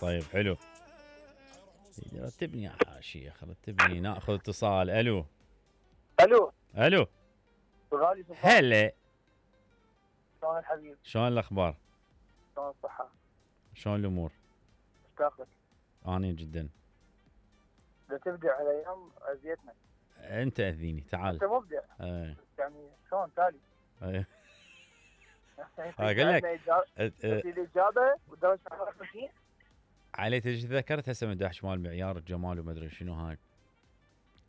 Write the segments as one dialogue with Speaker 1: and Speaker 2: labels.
Speaker 1: طيب حلو. رتبني يا شيخ رتبني. ناخذ اتصال. الو
Speaker 2: الو غالي سلطان.
Speaker 1: هلا
Speaker 2: شلون الحبيب؟
Speaker 1: شلون الاخبار؟
Speaker 2: شلون الصحة؟
Speaker 1: شلون الامور؟
Speaker 2: مشتاق لك.
Speaker 1: اني جدا.
Speaker 2: اذا تبدع هالايام اذيتنا.
Speaker 1: انت اذيني تعال.
Speaker 2: انت مبدع. يعني شلون تالي؟
Speaker 1: اقول لك
Speaker 2: الاجابه ودرجه حراره 50.
Speaker 1: علي تذكرت هسه من داش مال معيار الجمال وما ادري شنو هاي.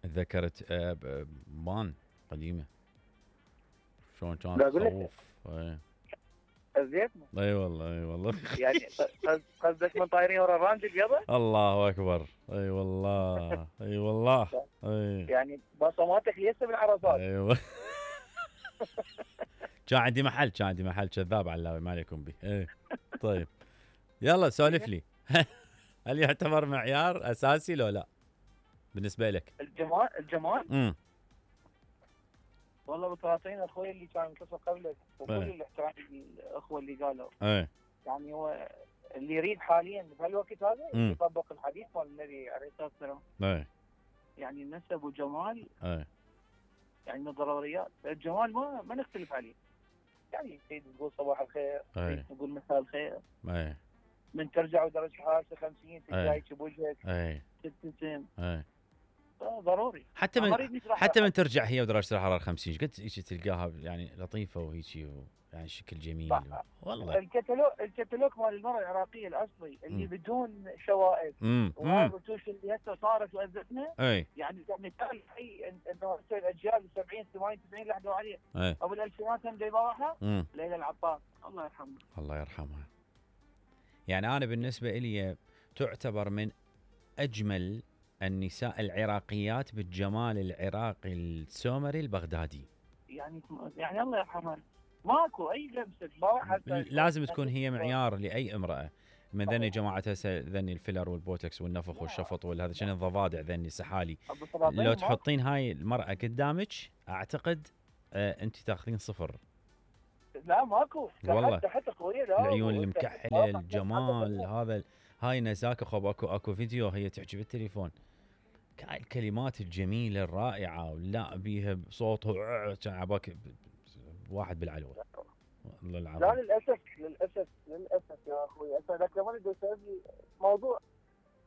Speaker 1: تذكرت بان قديمه شلون كانت تخوف.
Speaker 2: اذيتنا.
Speaker 1: اي والله
Speaker 2: يعني قصدك من طايرين ورا الرانج البيضة؟
Speaker 1: الله اكبر. اي والله
Speaker 2: يعني بصماتك لسه بالعرصات.
Speaker 1: ايوه. كان عندي محل كذاب علاوي ما عليكم به. طيب يلا سولف لي. هل يعتبر معيار اساسي لو لا بالنسبه لك؟
Speaker 2: الجمال والله بالطلاطين اخوي اللي كان يتصل قبلك وكل الاحترام الاخوه اللي قالوا يعني هو اللي يريد حاليا بهالوقت هذا يطبق الحديث مال النبي عليه الصلاه والسلام. يعني النسب والجمال يعني من الضروريات. الجمال ما نختلف عليه. يعني تريد تقول صباح الخير، تريد تقول مساء الخير، من ترجع ودرجه حرارته 50 تجايك بوجهك تبتسم ضروري.
Speaker 1: حتى من ترجع هي ودرجه الحراره 50 قد تلقاها يعني لطيفه وهيجي يعني شكل جميل. والله
Speaker 2: الكتالوج مال المراه العراقيه الاصلي اللي بدون شوائب والرتوش اللي هسه صارت واذتنا. يعني مثال حي انه هسه الاجيال 70 80 90 لحقوا عليه. ابو الالفينات هم جايباها ليلى العطار الله يرحمها.
Speaker 1: يعني انا بالنسبه لي تعتبر من اجمل النساء العراقيات بالجمال العراقي السومري البغدادي.
Speaker 2: يعني الله يرحمها ماكو اي لمسه.
Speaker 1: لازم تكون هي معيار لاي امراه من ذني جماعه هسه ذني الفيلر والبوتكس والنفخ والشفط والهذا شنو الضفادع ذني سحالي. لو تحطين هاي المراه قدامك اعتقد انت تاخذين 0.
Speaker 2: لا ماكو
Speaker 1: والله
Speaker 2: حتى قويه.
Speaker 1: العيون المكحله الجمال هذا هاي نزاكه. خب اكو فيديو هي تحكي بالتليفون الكلمات الجميله الرائعه ولا بيها بصوته عباك واحد بالعلوه. والله العظيم.
Speaker 2: لا للاسف يا اخوي. هسه ذاك لما بدي اسوي موضوع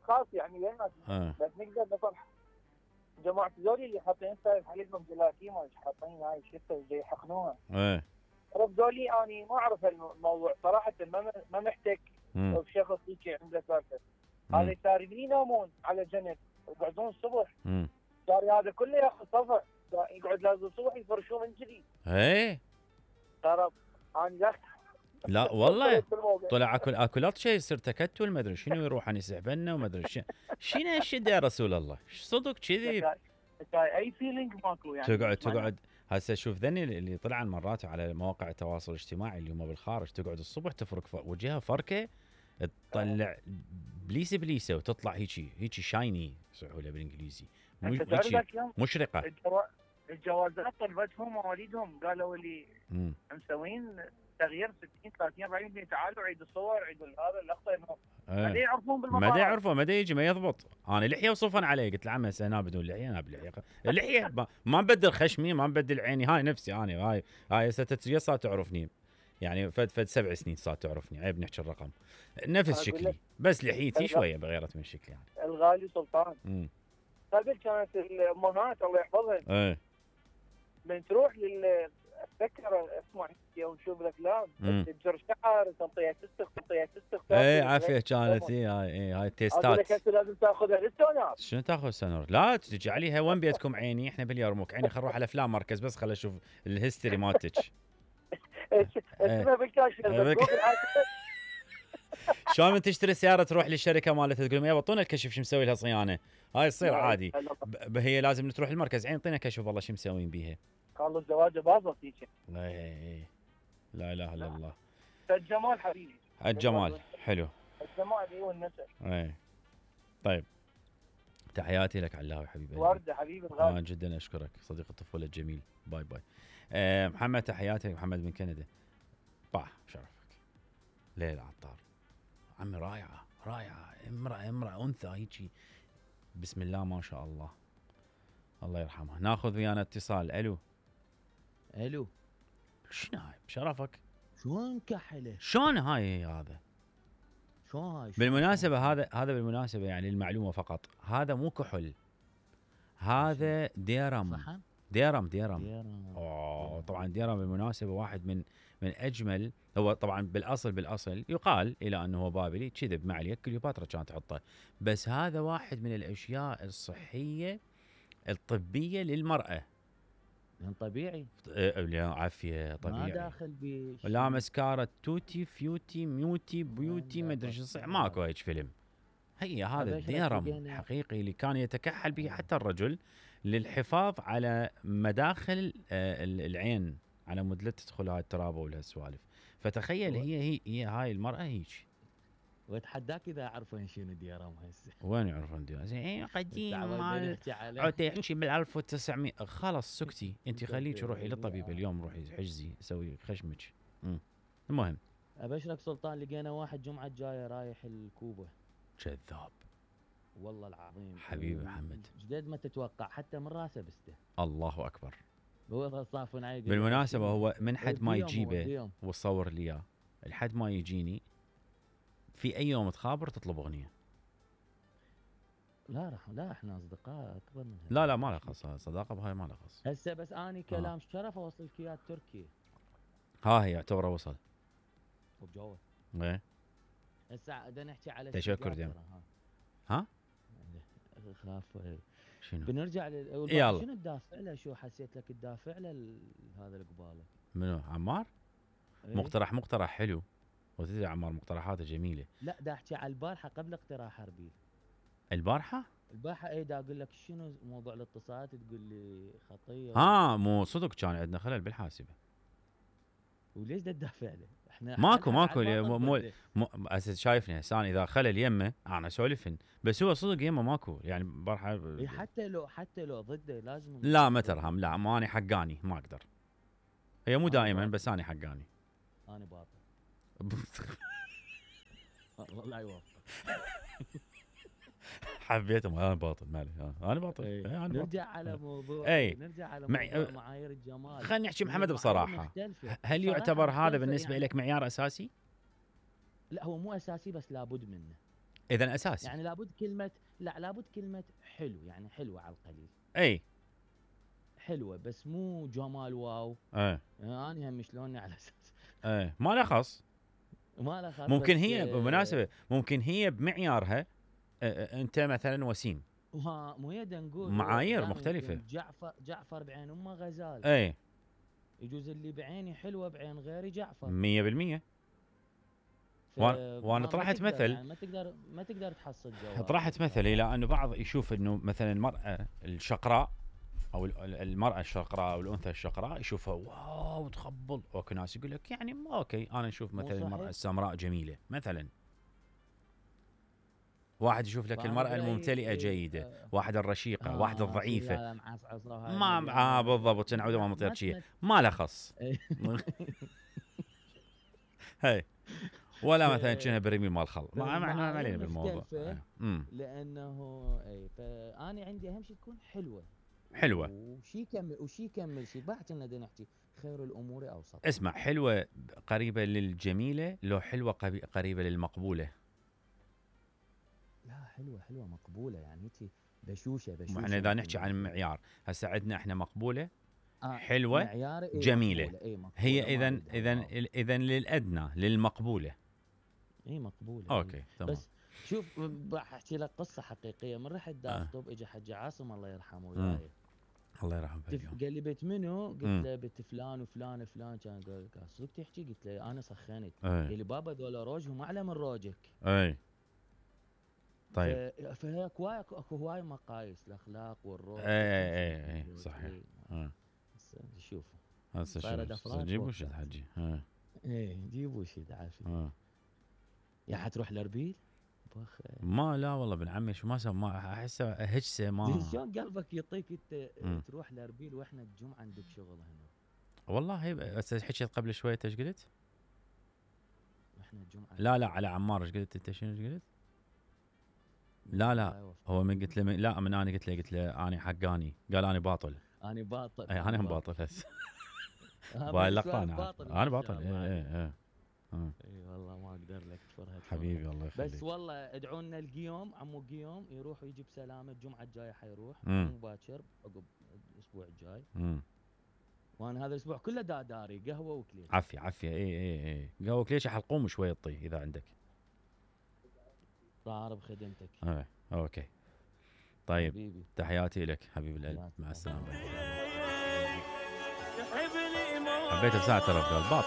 Speaker 2: خاص يعني بيننا بس نقدر نصلح جماعه ذولي اللي حاطين عليهم جيلاتين ما حاطين هاي الشفه جاي يحقنوها. عرف ذولي اني ما اعرف الموضوع صراحه. ما محتك بشخص هيك عنده سالفه. هذا ساربين ينامون على جنب يقعدون الصبح. صار هذا كله ياخذ صفع يقعد لازم الصبح يفرشوه من جديد. ترى انا
Speaker 1: لا والله طلع اكلات شيء يصير تكتل ما ادري شنو يروح عن يسحبنا وما ادري شنو هالشد يا رسول الله. صدق كذي
Speaker 2: اي فيلينج ماكو يعني.
Speaker 1: تقعد هسه شوف ذني اللي طلع مرات على مواقع التواصل الاجتماعي اللي هم بالخارج تقعد الصبح تفرك وجهها فركه تطلع بليسه وتطلع هيجي شايني يصيحوا له بالانجليزي مشرقه.
Speaker 2: الجوازات طلبتهم مواليدهم قالوا لي مسوين تغيير 60 30 40% تعالوا عيد الصور عيد هذا اللقطه. ما يعرفون بالمطار
Speaker 1: ما يعرفون ما يجي ما يضبط. انا لحيه وصفن علي قلت له عمي انا بدون لحيه انا بلحيه اللحيه ما نبدل خشمي ما نبدل عيني هاي نفسي انا هاي ستة صار تعرفني يعني فد 7 سنين صار تعرفني عيب نحكي الرقم نفس شكلي بس لحيتي شويه بغيرت من شكلي يعني.
Speaker 2: الغالي سلطان قبل كانت الامهات الله يحفظها من تروح اتذكر اسمع ونشوف الافلام تجر شعر تنطيها تستخ
Speaker 1: عافيه كانت هاي التيستات
Speaker 2: لازم تاخذها للسونار.
Speaker 1: شنو تاخذ سونار؟ لا تجي عليها وين بيتكم عيني احنا باليرموك عيني خل نروح على افلام مركز بس خل اشوف الهيستوري مالتك.
Speaker 2: اسمها بالكاشف
Speaker 1: شلون من تشتري سياره تروح للشركه مالتها تقول لهم يبطون الكشف شو مسوي لها صيانه. هاي تصير عادي. هي لازم تروح المركز عين اعطينا كشف والله شو مسوين بيها.
Speaker 2: قالوا الزواج باظت هيك.
Speaker 1: لا اله الا الله.
Speaker 2: الجمال حبيبي
Speaker 1: الجمال حلو.
Speaker 2: الجمال هو النسب.
Speaker 1: طيب تحياتي لك علاوي حبيبي.
Speaker 2: ورده حبيبي الغالي.
Speaker 1: جدا اشكرك صديق الطفوله الجميل. باي محمد تحياتي محمد من كندا. شرفك ليلى العطار عمي رائعه رائعه، امراه انثى هيجي، بسم الله ما شاء الله، الله يرحمها. ناخذ ويانا اتصال. الو
Speaker 3: الو،
Speaker 1: شنو هاي بشرفك؟
Speaker 3: شلون كحله؟
Speaker 1: شلون هاي هذا؟
Speaker 3: شلون هاي؟
Speaker 1: بالمناسبه هذا بالمناسبه يعني المعلومه فقط، هذا مو كحل، هذا ديرم.
Speaker 3: صحن؟
Speaker 1: ديرم.
Speaker 3: ديرم.
Speaker 1: طبعا ديرم بالمناسبه واحد من اجمل، هو طبعا بالاصل يقال الى انه هو بابلي، كذب ما عليك، كليوباترا كانت تحطه، بس هذا واحد من الاشياء الصحيه الطبيه للمراه.
Speaker 3: يعني طبيعي؟
Speaker 1: عافيه طبيعي،
Speaker 3: ما داخل بشيء.
Speaker 1: لا مسكارة توتي فيوتي ميوتي بيوتي ما ادري شو ماكو هيك فيلم. هي هذا الديرم حقيقي اللي كان يتكحل به حتى الرجل للحفاظ على مداخل العين، على مود لا تدخل هاي الترابه والهالسوالف. فتخيل هي هاي المراه هيك.
Speaker 3: واتحداك اذا يعرفون شنو ديرم هسه.
Speaker 1: وين يعرفون ديرم؟ زين قديم مال عاد يحكي بال 1900. خلاص سكتي انت، خليك روحي للطبيب اليوم، روحي حجزي سوي خشمك. المهم
Speaker 3: ابشرك سلطان، لقينا واحد جمعه الجايه رايح الكوبا.
Speaker 1: كذاب
Speaker 3: والله العظيم
Speaker 1: حبيبي محمد،
Speaker 3: جديد ما تتوقع، حتى من راسه بسته.
Speaker 1: الله اكبر.
Speaker 3: هو صافن علي.
Speaker 1: بالمناسبه هو من حد ما يجيبه وصور لي اياه، لحد ما يجيني في اي يوم تخابر تطلب اغنيه.
Speaker 3: لا احنا اصدقاء اكبر من هيك.
Speaker 1: لا ما له خص، صداقه بهاي ما له خص.
Speaker 3: هسه بس اني كلام شرف اوصل لك اياه تركيا.
Speaker 1: ها هي يعتبر وصل
Speaker 3: وبجوه.
Speaker 1: ايه
Speaker 3: هسه بدنا نحكي على
Speaker 1: تشكر ديم. ها
Speaker 3: خاف
Speaker 1: شنو
Speaker 3: بنرجع
Speaker 1: يلا.
Speaker 3: شنو تدافع له؟ شو حسيت لك تدافع له هذا القباله؟
Speaker 1: منو عمار؟
Speaker 3: ايه؟
Speaker 1: مقترح حلو، وتدري عمار مقترحاته جميله.
Speaker 3: لا دا احكي على البارحه قبل اقتراح اربيل.
Speaker 1: البارحه
Speaker 3: ايه دا اقول لك شنو موضوع الاتصالات، تقول لي خطيه.
Speaker 1: مو صدق كان عندنا خلل بالحاسبه.
Speaker 3: وليش دا تدافع له؟ احنا
Speaker 1: ماكو مو شايفني هسه اذا خلل يمه انا اسولفن، بس هو صدق يمه ماكو يعني بارحه.
Speaker 3: إيه حتى لو ضده لازم.
Speaker 1: لا ما ترهم، لا ما انا حقاني ما اقدر. هي مو دائما بس انا حقاني.
Speaker 3: انا باطل. والله لا يوفق.
Speaker 1: حبيتهم. انا باطل مالي، انا باطل.
Speaker 3: أنا نرجع على موضوع نرجع على موضوع معايير الجمال.
Speaker 1: خلينا نحكي محمد بصراحه، هل يعتبر هذا بالنسبه يعني لك معيار اساسي؟
Speaker 3: لا هو مو اساسي بس لابد منه.
Speaker 1: اذا اساسي
Speaker 3: يعني لابد كلمه حلو، يعني حلوه على القليل.
Speaker 1: اي
Speaker 3: حلوه بس مو جمال واو. انا هم شلوني على اساس
Speaker 1: ما له خص. ممكن هي بالمناسبه ممكن هي بمعيارها انت مثلا وسيم،
Speaker 3: مو هي نقول
Speaker 1: معايير مختلفه.
Speaker 3: جعفر بعين امه غزال. يجوز اللي بعيني حلوه بعين غيري جعفر
Speaker 1: 100%. وانا طرحت مثل
Speaker 3: يعني ما تقدر تحصل جواب.
Speaker 1: طرحت مثل الى انه بعض يشوف انه مثلا المراه الشقراء او المراه الشقراء او الانثى الشقراء يشوفها واو تخبل، اوكي ناس يقول لك يعني اوكي انا نشوف مثلا المراه السمراء جميله مثلا. واحد يشوف لك المرأة الممتلئة جيدة، واحد الرشيقة، واحد الضعيفة. ما بالضبط نعود ما مطير شيء ما له خص. هي ولا مثلا كأنها برميل مال خل، ما علينا بالموضوع.
Speaker 3: لأنه فأنا عندي أهم شيء تكون حلوة. وشي يكمل شي بعد كنا نحكي خير الأمور أوسط.
Speaker 1: اسمع، حلوة قريبة للجميلة لو حلوة قريبة للمقبولة؟
Speaker 3: لا حلوة مقبولة يعني هيك بشوشة.
Speaker 1: احنا اذا نحكي عن معيار هسه عندنا احنا مقبولة حلوة جميلة. مقبولة. هي اذا للأدنى للمقبولة.
Speaker 3: مقبولة.
Speaker 1: اوكي تمام.
Speaker 3: بس شوف راح احكي لك قصة حقيقية. من رحت داخطب اجى حج عاصم الله يرحمه وياي.
Speaker 1: الله يرحمه.
Speaker 3: قال لي بيت منو؟ قلت له بيت فلان وفلان وفلان. كان قال صدق تحكي؟ قلت له انا سخنت. قال لي بابا ذولا روجهم اعلى من روجك.
Speaker 1: طيب
Speaker 3: فهيك اكو هواي مقاييس الاخلاق والروح.
Speaker 1: اي صحيح.
Speaker 3: شوف
Speaker 1: هسه جيبوا شد حجي.
Speaker 3: جيبوا شد عافيه. يا حتروح لاربيل؟
Speaker 1: ما لا والله ابن عمي شو ما احسه هجسه ما.
Speaker 3: شلون قلبك يعطيك انت تروح لاربيل واحنا الجمعه عندك شغل هنا؟
Speaker 1: والله هسه حكيت قبل شويه ايش قلت؟
Speaker 3: احنا الجمعه
Speaker 1: لا على عمار. ايش قلت انت؟ شنو قلت؟ لا هو من قلت له لا من انا قلت له انا حقاني، قال انا باطل.
Speaker 3: انا باطل.
Speaker 1: اي انا هم باطل هسه. باي اللقطه انا باطل. اي
Speaker 3: والله ما اقدر لك فرهد
Speaker 1: حبيبي الله يخليك.
Speaker 3: بس والله ادعوا لنا القيوم، عمو قيوم يروح ويجي بسلامه. الجمعه الجايه حيروح مو باكر عقب الاسبوع الجاي. وانا هذا الاسبوع كله داري قهوه وكليش.
Speaker 1: عافيه. اي قهوه وكليش يحلقوم شويه طي اذا عندك.
Speaker 3: صار بخدمتك.
Speaker 1: اوكي طيب
Speaker 3: حبيبي.
Speaker 1: تحياتي لك حبيب القلب، مع السلامه. حبيت بساعه ترى باطل.